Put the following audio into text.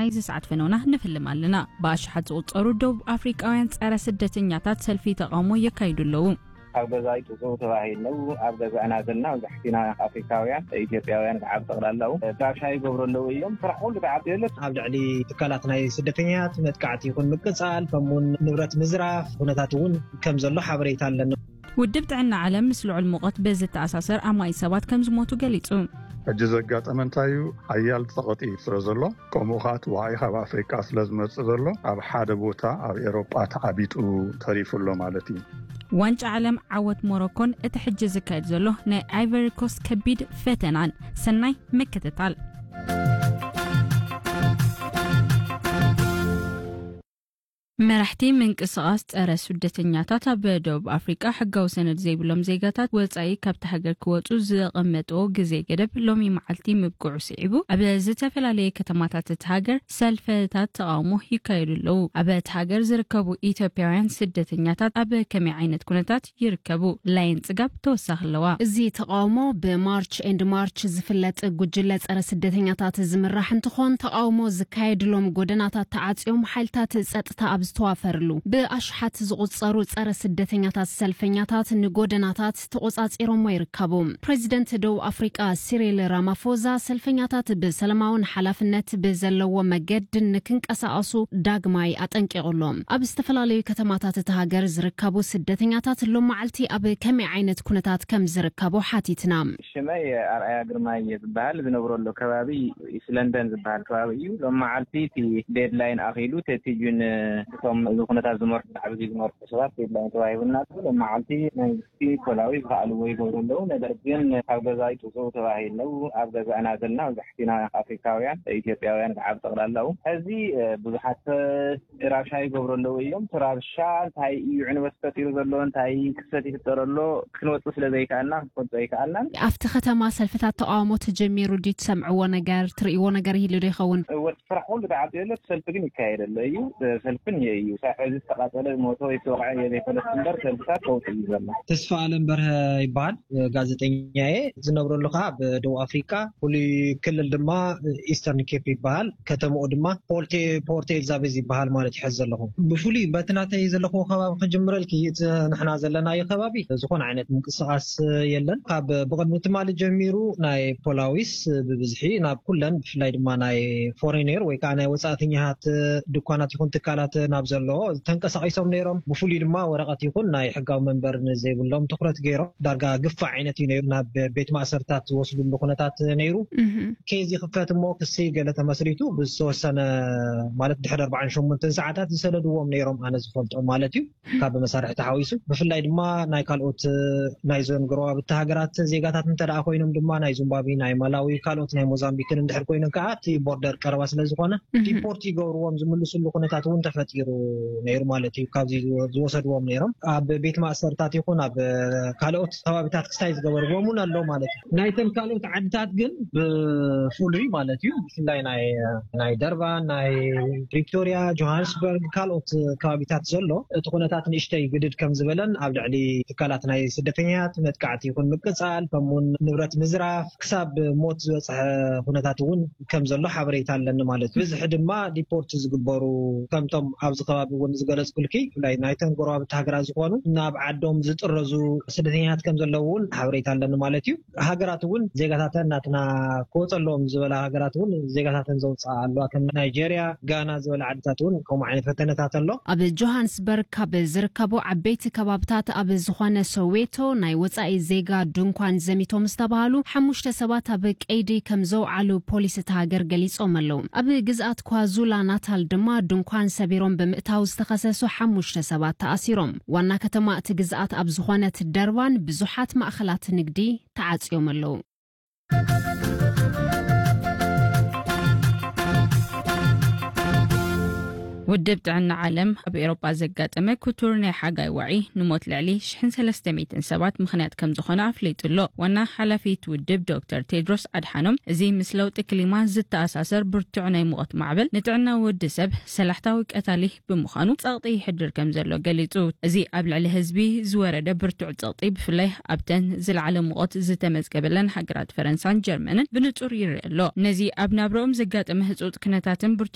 ናይዚ ሰዓት ፈነውና ንፍልም ኣለና። ብኣሽሓት ዝቑጸሩ ደቡብ ኣፍሪቃውያን ጸረ ስደተኛታት ሰልፊ ተቓውሞ የካይዱ ኣለዉ። ኣብ ገዛ ይጥፍኡ ተባሂሉ፣ ኣብ ገዛና ዘለና መብዛሕትና ኣፍሪካውያን፣ ኢትዮጵያውያን ከዓ ብጠቕላላው ራብሻ ይገብሩ ኣለዉ እዮም። ስራሕ ኩሉ ተዓፅዩ ኣሎ። ኣብ ልዕሊ ትካላት ናይ ስደተኛታት መጥቃዕቲ ይኹን ምቅፃል፣ ከምኡውን ንብረት ምዝራፍ ኩነታት እውን ከም ዘሎ ሓበሬታ ኣለና። ውድብ ጥዕና ዓለም ምስ ልዑል ሙቐት ብዝተኣሳሰር ኣማኢት ሰባት ከም ዝሞቱ ገሊጹ። ሕጂ ዘጋጠመ እንታይ እዩ? ሓያል ጸቕጢ ስለ ዘሎ፣ ከምኡ ኸኣ እቲ ዋዒ ካብ ኣፍሪቃ ስለ ዝመጽእ ዘሎ፣ ኣብ ሓደ ቦታ ኣብ ኤሮጳ ተዓቢጡ ተሪፉ ኣሎ ማለት እዩ። ዋንጫ ዓለም ዓወት ሞሮኮን እቲ ሕጂ ዝካየድ ዘሎ ናይ ኣይቨሪ ኮስት ከቢድ ፈተናን። ሰናይ ምክትታል። መራሕቲ ምንቅስቓስ ጸረ ስደተኛታት ኣብ ደቡብ ኣፍሪቃ ሕጋዊ ሰነድ ዘይብሎም ዜጋታት ወጻኢ ካብቲ ሃገር ክወጹ ዘቐመጥዎ ግዜ ገደብ ሎሚ መዓልቲ ምብቅዑ ስዒቡ፣ ኣብ ዝተፈላለየ ከተማታት እቲ ሃገር ሰልፍታት ተቓውሞ ይካየዱ ኣለዉ። ኣብ እቲ ሃገር ዝርከቡ ኢትዮጵያውያን ስደተኛታት ኣብ ከመይ ዓይነት ኩነታት ይርከቡ? ላይን ጽጋብ ተወሳኺ ኣለዋ። እዚ ተቓውሞ ብማርች ኤንድ ማርች ዝፍለጥ ጉጅለ ጸረ ስደተኛታት ዝምራሕ እንትኾን፣ ተቓውሞ ዝካየድሎም ጎደናታት ተዓጽዮም ሓይልታት ጸጥታ ኣብ ዝተዋፈርሉ ብኣሽሓት ዝቑጸሩ ጸረ ስደተኛታት ሰልፈኛታት ንጎደናታት ተቖጻጺሮሞ ይርከቡ። ፕሬዚደንት ደቡብ ኣፍሪቃ ሲሪል ራማፎዛ ሰልፈኛታት ብሰላማውን ሓላፍነት ብዘለዎ መገዲ ንክንቀሳቐሱ ዳግማይ ኣጠንቂቑሎም። ኣብ ዝተፈላለዩ ከተማታት እቲ ሃገር ዝርከቡ ስደተኛታት ሎም መዓልቲ ኣብ ከመይ ዓይነት ኩነታት ከም ዝርከቡ ሓቲትና። ሽመይ ኣርኣያ ግርማይ እየ ዝበሃል። ዝነብረሉ ከባቢ ኢስት ለንደን ዝበሃል ከባቢ እዩ። ሎም መዓልቲ እቲ ዴድላይን ኣኺሉ፣ ተቲጁን እቶም እዚ ኩነታት ዝመርሑ፣ ብዛዕባ እዚ ዝመርሑ ሰባት ዴድላይን ተዋሂቡና ኣሎ። ሎም መዓልቲ መንግስቲ ፖላዊ ዝኸኣልዎ ይገብሩ ኣለዉ። ነገር ግን ካብ ገዛ ይጥፍኡ ተባሂሉ ኣለዉ። ኣብ ገዛና ዘለና መብዛሕትና ኣፍሪካውያን፣ ኢትዮጵያውያን ከዓ ብጠቕላላው። ሕዚ ብዙሓት ራብሻ ይገብሩ ኣለዉ እዮም። እቲ ራብሻ እንታይ እዩ ዕንወት ፈጢሩ ዘሎ፣ እንታይ ክስተት ይፍጠር ኣሎ፣ ክንወጽእ ስለ ዘይከኣልና ክንፈልጦ ኣይከኣልናን። ኣብቲ ከተማ ሰልፍታት ተቓውሞ ተጀሚሩ ድዩ? ትሰምዕዎ ነገር፣ ትርእይዎ ነገር ይህሉ ዶ ይኸውን? ወዲ ስራሕ ኩሉ ተዓጽዩ ኣሎ፣ ሰልፊ ግን ይካየድ ኣሎ እዩ። ሰልፊ እኒኦ እዩ። ሳዕ ሕዚ ዝተቓጸለ፣ ዝሞተ ወይ ዝተወቕዐ እየ ዘይፈለጥ እምበር፣ ሰልፍታት ከውጽእ እዩ ዘሎ። ተስፋ ኣለም በርሀ ይበሃል፣ ጋዜጠኛ እየ። ዝነብረሉ ከዓ ኣብ ደቡብ ኣፍሪቃ፣ ፍሉይ ክልል ድማ ኢስተርን ኬፕ ይበሃል። ከተማኡ ድማ ፖርቴ-፣ ፖርት ኤልዛቤዝ ይበሃል ማለት ይሕዝ ዘለኹ። ብፍሉይ በቲ ናተይ ዘለኹዎ ከባቢ ክጅምረልኪ፣ እቲ ንሕና ዘለናዮ ከባቢ ዝኾነ ዓይነት ምንቅስቓስ የለን። ካብ ብቕድሚ ትማሊ ጀሚሩ ናይ ፖላዊስ ብብዝሒ ናብ ኩለን፣ ብፍላይ ድማ ናይ ፎሬነር ወይ ከዓ ናይ ወፃእተኛታት ድኳናት ይኹን ትካላት ናብ ዘለዎ ተንቀሳቒሶም ነይሮም። ብፍሉይ ድማ ወረቐት ይኹን ናይ ሕጋዊ መንበር ንዘይብሎም ትኹረት ገይሮም፣ ዳርጋ ግፋ ዓይነት እዩ ነይሩ። ናብ ቤት ማእሰርታት ዝወስዱሉ ኩነታት ነይሩ። እህ። ኬዝ ይኽፈት እሞ ክሲ ገለ ተመስሪቱ ብዝተወሰነ፣ ማለት ድሕሪ ኣርባዓን ሸሞንተን ሰዓታት ዝሰደድዎም ነይሮም፣ ኣነ ዝፈልጦም ማለት እዩ፣ ካብ መሳርሒ ተሓዊሱ። ብፍላይ ድማ ናይ ካልኦት ናይዞን ጎረባብቲ ሃገራት ዜጋታት እንተ ደኣ ኮይኖም ድማ ናይ ዚምባብዌ፣ ናይ ማላዊ፣ ካልኦት ናይ ሞዛምቢክን እንድሕር ኮይኖም ከዓ እቲ ቦርደር ቀረባ ስለ ዝኾነ እህ። ዲፖርት ይገብርዎም ዝምልስሉ ኩነታት እውን ተፈጢሩ ነይሩ ማለት እዩ። ካብዚ ዝወ-፣ ዝወሰድዎም ነይሮም ኣብ ቤት ማእሰርታት ይኹን ኣብ ካልኦት ከባቢታት ክስታይ ዝገበርዎም እውን ኣሎ ማለት እዩ። ናይተን ካልኦት ዓድታት ግን ብፍሉይ ማለት እዩ፣ ብፍላይ ናይ፣ ናይ ደርባን፣ ናይ ፕሪቶሪያ፣ ጆሃንስበርግ፣ ካልኦት ከባቢታት ዘሎ እቲ ኩነታት ንእሽተይ ግድድ ከም ዝበለን ኣብ ልዕሊ ትካላት ናይ ስደተኛታት መጥቃዕቲ ይኹን ምቅጻል፣ ከምኡውን ንብረት ምዝራፍ ክሳብ ሞት ዝበጽሐ ኩነታት እውን ከም ዘሎ ሓበሬታ ኣለኒ ማለት እዩ። ብዝሒ ድማ ዲፖርት ዝግበሩ፣ ከምቶም ኣብዚ ከባቢ እውን ዝገለጽኩልኪ፣ ብፍላይ ናይተን ጎረባብቲ ሃገራት ዝኾኑ ናብ ዓዶም ዝጥረዙ ስደተኛታት ከም ዘለዉ እውን ሓበሬታ ኣለኒ ማለት እዩ። ሃገራት እውን ዜጋታተን ናትና ክወጸሎም ዝበላ ሃገራት እውን ዜጋታተን ዘውፅኣ ኣለዋ፣ ከም ናይጄርያ፣ ጋና ዝበላ ዓድታት እውን ከምኡ ዓይነት ፈተነታት ኣሎ። ኣብ ጆሃንስበርግ ካብ ዝርከቡ ዓበይቲ ከባብታት ኣብ ዝኾነ ሶዌቶ ናይ ወጻኢ ዜጋ ድንኳን ዘሚቶም ዝተባሃሉ ሓሙሽተ ሰባት ኣብ ቀይዲ ከም ዘውዓሉ ፖሊስ እታ ሃገር ገሊጾም ኣለዉ። ኣብ ግዝኣት ኳዙላ ናታል ድማ ድንኳን ሰቢሮም ብምእታው ዝተኸሰሱ ሓሙሽተ ሰባት ተኣሲሮም። ዋና ከተማ እቲ ግዝኣት ኣብ ዝኾነት ደርባን ብዙሓት ማእኸላት ንግዲ ተዓጽዮም ኣለዉ። ውድብ ጥዕና ዓለም ኣብ ኤውሮጳ ዘጋጠመ ክቱር ናይ ሓጋይ ዋዒ ንሞት ልዕሊ ሽሕን ሰለስተ ሚእትን ሰባት ምኽንያት ከም ዝኾነ ኣፍሊጡ ኣሎ። ዋና ሓላፊት ውድብ ዶክተር ቴድሮስ ኣድሓኖም፣ እዚ ምስ ለውጢ ክሊማ ዝተኣሳሰር ብርቱዕ ናይ ሙቐት ማዕበል ንጥዕና ወዲ ሰብ ሰላሕታዊ ቀታሊ ብምዃኑ ጸቕጢ ይሕድር ከም ዘሎ ገሊጹ። እዚ ኣብ ልዕሊ ህዝቢ ዝወረደ ብርቱዕ ጸቕጢ ብፍላይ ኣብተን ዝለዓለ ሙቐት ዝተመዝገበለን ሃገራት ፈረንሳን ጀርመንን ብንጹር ይርአ ኣሎ። ነዚ ኣብ ናብረኦም ዘጋጠመ ህጹጽ ኩነታትን ብርቱዕ